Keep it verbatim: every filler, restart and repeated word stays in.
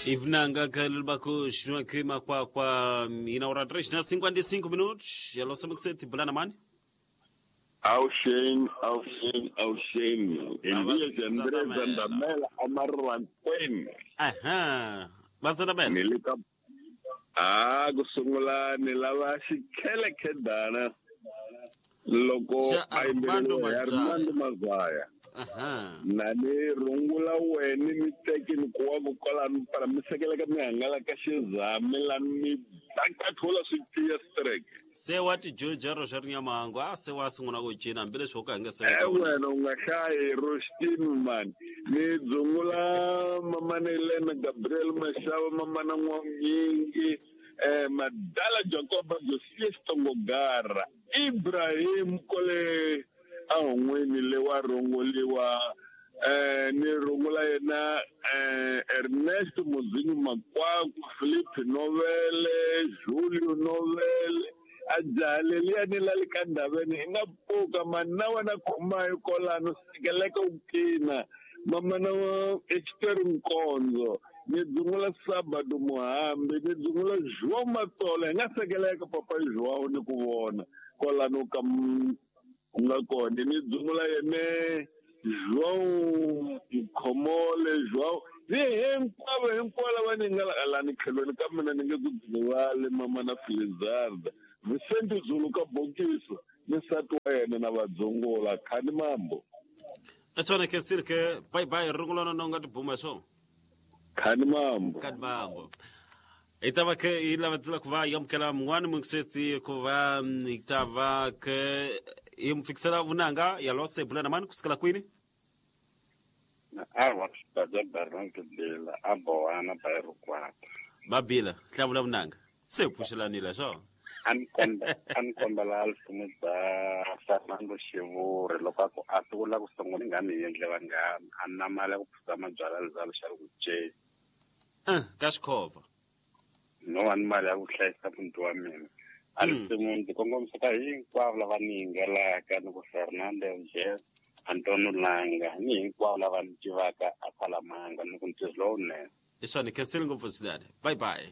Ivunanga kalubako shwake makwa kwa ina três na cinquenta e cinco minutos. Alô, sabe que você te bulana mani? Auxen, auxen, auxen. Elias André Zandamela Amarwanqweni. Aha. Bazandamela. Nilika Ah, kusungula ni lava xikhele khedana loko a yimbeleriwa Armando Mazaya. Aha. Na ni rungula wena ni teki ni kuwa ku kwalano para mi sekeleka mi hangalaka xizami lani mi bakathola swi tiya strike. Se wa ti joja ro xa rinyamango a se wa sungula ku cina hambileswi wo ka nga se e wena u nga hlayi Rostin man ni dzungula mamana Elena Gabriel Mashava mamana N'wanyingi eh Madala Jacoba Josias Tongogara Ibrahim Kole ahon'wini le wa rongoliwa eh ni rungula yena eh Ernest Muzinyu Makwaku Philip Novele Julio Novele ajale liyani la le ka ndaveni i nga pfuka mani na wena khomayo kolano sekeleka u kina mamana wa Esther Nkonzo ni dzungula Sabado Muhambi ni dzungula João Matola hi nga sekeleka papa João ni ku vona kolano ka nga kona ni dzungula yene João Khomole João ni hinkwavo hinkwavo lava ni nga lani tlhelweni ka mina ni nge ku dzivale mama na Filizarda Vicente Zulu ka Bokiso ni nsati wa yena na vadzungula khani mambo Asona ke sirke bye bye rungulana no nga tibuma so khani mambo khani mambo itava ke ilava ku va yamukela mun'wana mungisetsi ku va itava ke imfikisela vunanga ya lose bulana mani kusukela kwini awa xibaja Bernard Bila a bowana ba rukwata babila hlavula vunanga se pfuxelanile swo a ni komba a ni kombela alfumu bya Fernando Xivuri loko a ku a sungula ku sungula nga ni endle vanghana a na mali ya ku phuza mabyalwa lezalo xa ku ce eh ka xikhova no wa ni mali ya ku hlayisa muti wa mina a risimu ndzi kongomisa ka hinkwavo lava ni yingelaka ni ku Fernando Jess Antonio Langa ni hinkwavo lava ni tivaka a Phalamanga ni ku ntirho lowunene i swona khensile ngopfu swinene bye bye.